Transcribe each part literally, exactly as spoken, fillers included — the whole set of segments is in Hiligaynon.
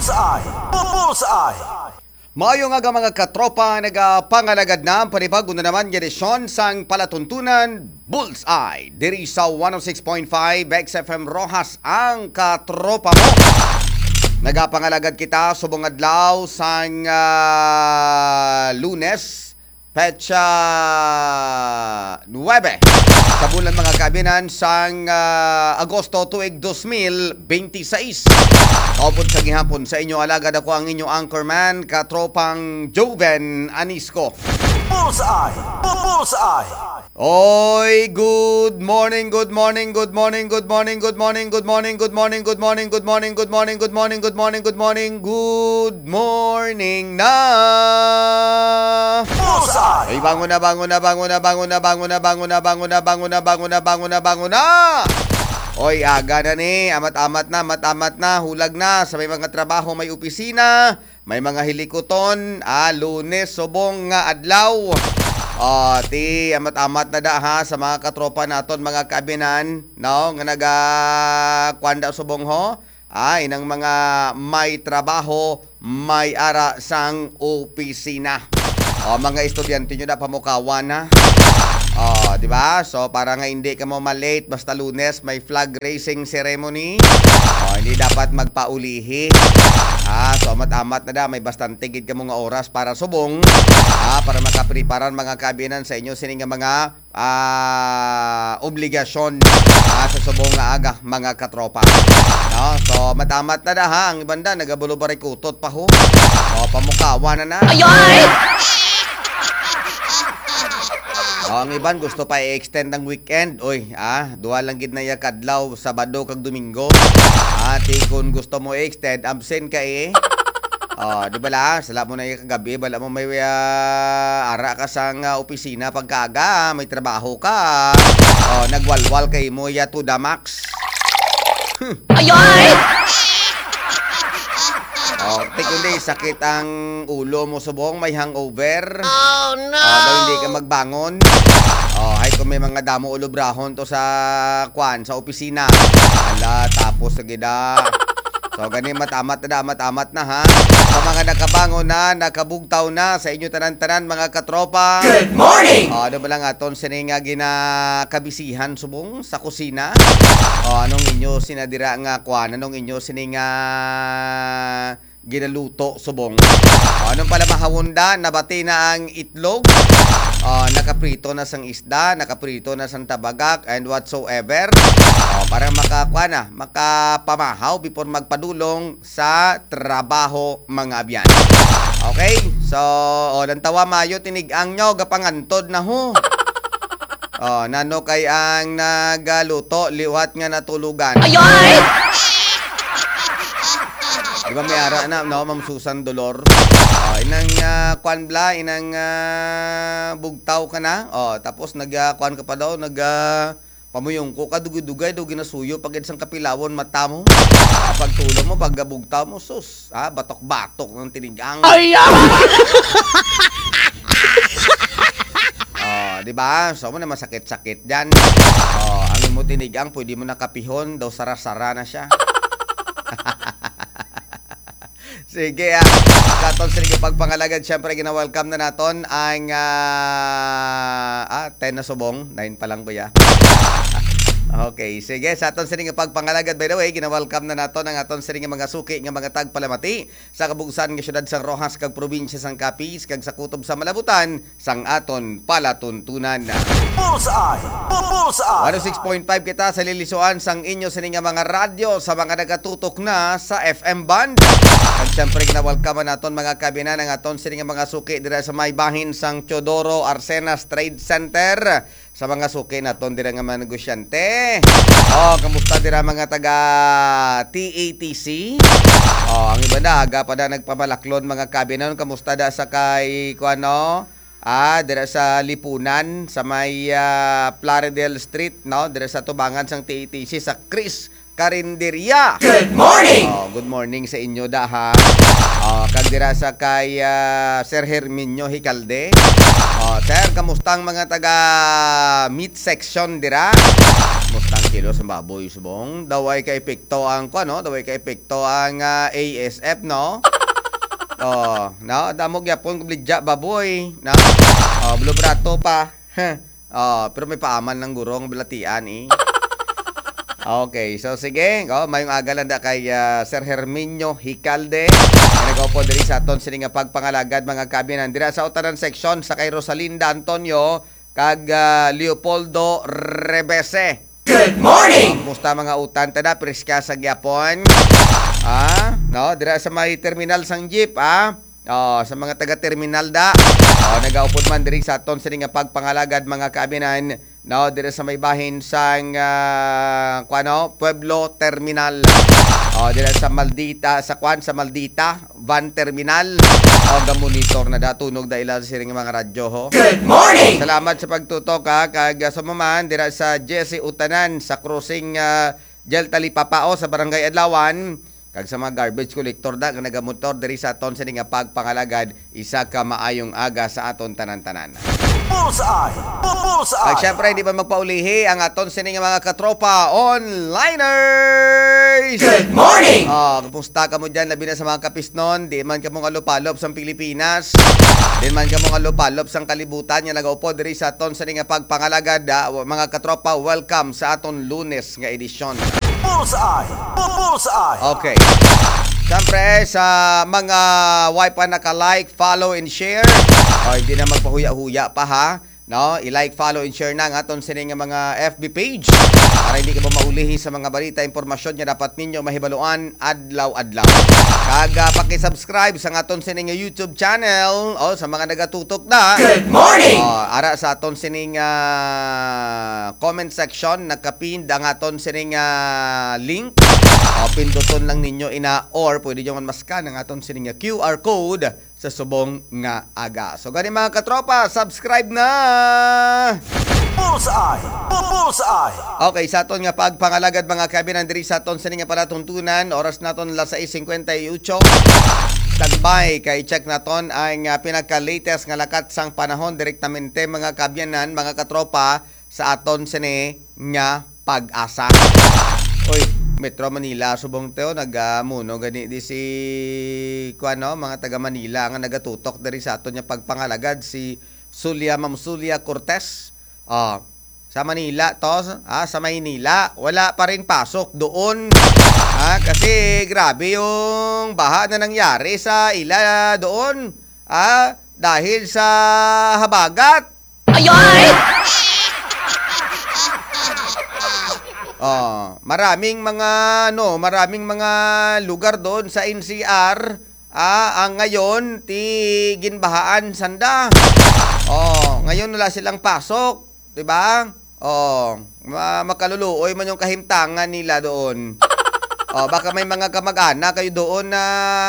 Bullseye! Bu-, Bullseye! Maayo nga, mga katropa, nagapangalagad na ang panibago na naman nga edisyon sang palatuntunan Bullseye diri sa one oh six point five X F M Roxas, ang katropa mo. Nagapangalagad kita subong adlaw sang, ah, Lunes, petsa nuebe sa bulan, mga kaabyanan, sang, ah, Agosto tuig dos mil benti sais. Kaupod sa gihapon sa inyo alagad, ako ang inyo anchorman, katropang Joven Anisco. Bullseye! Bu-, Bullseye! Oy, good morning, good morning, good morning, good morning, good morning, good morning, good morning, good morning, good morning, good morning, good morning, good morning, good morning, good morning, good morning, good morning na. Bullseye! Ay, bangon na, bangon na, bangon na, bangon na, bangon na, bangon na, bangon na, bangon na, bangon na, bangon na, bangon na, bangon na. Oy, aga na ni, amat-amat na, amat-amat na, hulag na, sa may mga trabaho, may opisina, may mga hilikuton, ah, Lunes, subong nga adlaw. Ah, ti, amat-amat na da, ha, sa mga katropa naton, mga kaabyanan, no, nga naga-, kuwan da subong ho. Ah, inang mga may trabaho, may ara sang opisina. O, mga estudyante nyo na pamukawan, ha? O, di ba? So, para nga hindi ka mo ma-late, basta Lunes, may flag raising ceremony. O, hindi dapat magpaulihi. Ah, so, amat-amat na da, may bastante gid kamo nga oras para subong, ah, para makapreparan, mga kaabyanan, sa inyo sini nga mga, ah, obligasyon, ah, sa subong nga aga, mga katropa. No? So, amat-amat na da, ha, ang iban da nagabulubaray kutot pa ho. O, pamukawan na na. Ayoy! O, ang iban gusto pa i-extend ang weekend. Oy, ah, duha lang gid na iya kadlaw, Sabado kag Domingo. Ah, ti kun gusto mo i-extend, absent ka, eh. O, di bala? Sala mo na iya kagabi, bala mo may, ah, ara ka sang, ah, opisina pagkaaga, may trabaho ka. O, nagwalwal kay mo iya to the max. Ayoy! O, ti kundi sakit ang ulo mo subong, may hangover. Oh, no! O, daw hindi ka magbangon. O, ay kung may mga damo ulobrahon to sa, kwan, sa opisina. Ala, tapos sa gida. So, gani, amat-amat na da, amat-amat na, ha? Sa mga nakabangon na, nakabugtaw na, sa inyo tanan-tanan, mga katropa. Good morning! O, ano ba lang aton sini nga ginakabisihan subong sa kusina? O, anong inyo sinadira nga kwan? Anong inyo sini nga ginaluto subong? O, anong pala mahawon da? Nabati na ang itlog? O, nakaprito na sang isda, nakaprito na sang tabagak, and whatsoever. O, para makakuha na, makapamahaw before magpadulong sa trabaho, mga abyan. Okay? So, o, lantawa mayo, tinig-ang nyo, gapangantod na ho. O, nano kay ang nagaluto, liwat nga natulugan. Ayoy! Di ba may ara na, no, Ma'am Susan Dolor? O, inang, ah, kwan bla, inang, ah, bugtaw ka na. O, tapos nag, ah, kwan ka pa daw, nag, ah, pamuyong ko ka, dugay-dugay daw ginasuyo pag sang kapilawon mata mo. Ah, pagtulo mo, pagabugtaw mo, sus, ah, batok-batok ng tinigang. Ay, ah! O, di ba? So, mo na masakit-sakit dyan. O, ang imo tinigang, pwede mo na kapihon, daw sara-sara na siya. Sige, ah. Sa aton sini nga pagpangalagad, syempre, gina-welcome na naton ang, ah, ah, ten na subong. Nine pa lang, kuya. Okay, sige. Sa aton sini nga pagpangalagad, by the way, gina-welcome na naton ang aton sini nga mga suki nga mga tagpalamati sa kabugsan nga siyudad sang Roxas kag probinsya sang Capiz kag sa kutob sa Malabutan sang aton palatuntunan. Bullseye! Bu-, Bullseye! One oh six point five kita sa lilisuan sang inyo sini nga mga radyo sa mga nagatutok na sa F M band. Kag siyempre, ginawalkaman naton, mga kabinan, ang aton sini nga mga suki dira sa may bahin sang Teodoro Arcenas Trade Center. Sa mga suki naton dira nga mga negosyante. O, kamusta dira mga taga T A T C? O, ang iba na, aga pa na nagpamalaklon, mga kabinan. Kamusta da sa kay, kuan, no? Ah, dira sa Lipunan, sa may, ah, Plaridel Street, no? Dira sa tubangan sang T A T C, sa Chris Karinderya. Good morning! O, good morning sa inyo da, ha. O, kag dira sa kay, ah, Sir Herminio Hicalde. O, sir, kamusta ang mga taga meat section dira? Kamusta ang Kilos ang baboy, subong. Daw ay ka-epekto ang, kuwan, no? Daw ay ka-epekto ang, ah, A S F, no? Oh, no? Damo gyapon kung baligya baboy, no? Oh, blue brato pa. Oh, pero may paaman ng gurong balatian, eh. Okay, so sige. Oh, mayong aga lang da kay, ah, Sir Herminio Hicalde. Nga nag-upo diri sa aton sini nga pagpangalagad, mga kaabyanan. Dira sa utanan section sa kay Rosalinda Antonio kag, ah, Leopoldo Rebese. Good morning! Oh, kumusta mga utan? Tada, preska sa gyapon. Ah, no? Dira sa may terminal sang jeep, ah. Oh, sa mga taga-terminal da. Oh, nagaupod man diri sa aton sini nga pagpangalagad, mga kaabyanan, no, diri sa may bahin sang, ah, kuano, Pueblo Terminal. Oh, diri sa Maldita, sa kuan, sa Maldita Van Terminal. Oh, gamonitor na da, tunog da ila sa siring mga radyo, ho. Good morning! Salamat sa pagtutok, ha, kag, ah, sa maman dira sa Jesse Utanan sa crossing, ah, Jel Talipapa, oh, sa Barangay Adlawan. Kag sa mga garbage collector da nga nagamotor diri sa aton sini nga pagpangalagad, isa ka maayong aga sa aton tanan-tanan. Bullseye! Bu- Bullseye! At syempre, hindi pa magpaulihi ang aton sini nga mga katropa onliners! Good morning! Oh, kumusta ka mo dyan? Labi na sa mga kapisnon, di man ka mo ngalupalop sa Pilipinas, di man ka mo ngalupalop sa kalibutan nga nagaupo diri sa aton sini nga pagpangalagad, ah, mga katropa, welcome sa aton Lunes nga edisyon. Bullseye! Bu- Bullseye! Okay. Siyempre, sa mga way pa naka-like, follow, and share, o hindi na magpahuya-huya pa, ha, no? I-like, follow, and share na ang aton sini nga mga F B page para hindi ka maulihi sa mga balita, impormasyon nga dapat ninyo mahibaluan adlaw-adlaw. Kag, ah, paki-subscribe sa aton sini nga YouTube channel, o sa mga nagatutok na. Good morning! O, ara sa aton sini nga comment section, nakapinned ang aton sini nga link. O, pinduton lang ninyo ina, or pwede nyo man maskan ang aton sini nga Q R code sa subong nga aga. So, gani, mga katropa, subscribe na! Bullseye! Bu- Bullseye! Okay, sa aton nga pagpangalagad, mga kaabyanan, diri sa aton sini nga palatuntunan, oras naton alas sais cincuenta y ocho. Standby, kay check naton ang, ah, pinaka-latest nga lakat sang panahon direktamente, mga kaabyanan, mga katropa, sa aton sini nga PAGASA. Oy, Metro Manila, subong teo, nagamuno gani di si, kuwan, no, mga taga Manila nga nagatutok diri sa aton nga pagpangalagad, si Sulia, Ma'am Sulia Cortez. Ah, sa Manila to, ah, sa Maynila, wala pa rin pasok doon. Ah, kasi grabe yung baha na nangyari sa ila doon. Ah, dahil sa habagat. Ayoy! Oh, maraming mga, ano, maraming mga lugar doon sa N C R, ah, ang ngayon ti ginbahaan sanda. Oh, ngayon wala silang pasok, di ba? Oh, ma- makaluluoy man yung kahimtangan nila doon. Oh, baka may mga kamag-anak kayo doon na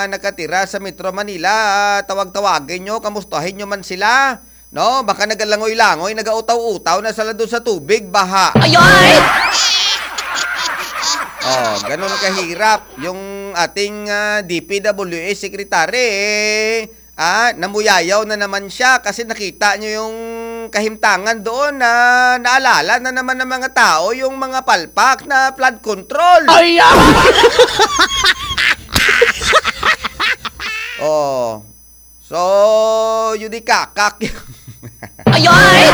nakatira sa Metro Manila, ah, tawag-tawagin nyo, kamustahin nyo man sila. No, baka nagalangoy-langoy, nagautaw-utaw na sila doon sa tubig, baha. Ayoy! Oh, ganun kahirap yung ating, ah, D P W H secretary. Ah, namuyayaw na naman siya kasi nakita niyo yung kahimtangan doon na naalala na naman ng mga tao yung mga palpak na flood control. Ay, ah! Oh. So, yun di kakak. Ayoy!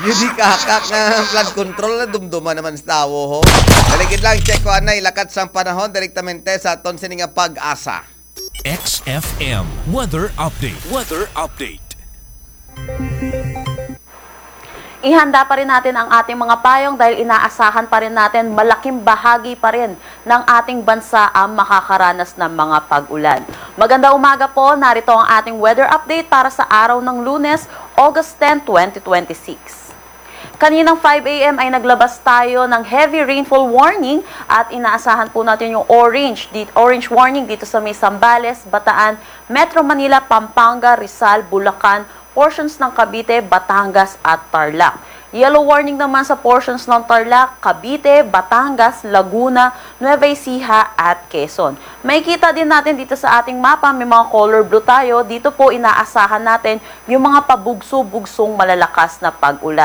Yun di kakak nga flood control na dumduma naman sa tawo, ho. Daligid lang, check ko anay, lakat sang panahon, direktamente sa aton sini nga PAGASA. X F M weather update. Weather update. Ihanda pa rin natin ang ating mga payong dahil inaasahan pa rin natin malaking bahagi pa rin ng ating bansa ang makakaranas ng mga pag-ulan. Magandang umaga po, narito ang ating weather update para sa araw ng Lunes, August ten, twenty twenty-six. Kaninang five a m ay naglabas tayo ng heavy rainfall warning at inaasahan po natin yung orange, di- orange warning dito sa may Zambales, Bataan, Metro Manila, Pampanga, Rizal, Bulacan, portions ng Cavite, Batangas at Tarlac. Yellow warning naman sa portions ng Tarlac, Cavite, Batangas, Laguna, Nueva Ecija at Quezon. Makikita din natin dito sa ating mapa, may mga color blue tayo. Dito po inaasahan natin yung mga pabugso-bugsong malalakas na pag-ulan.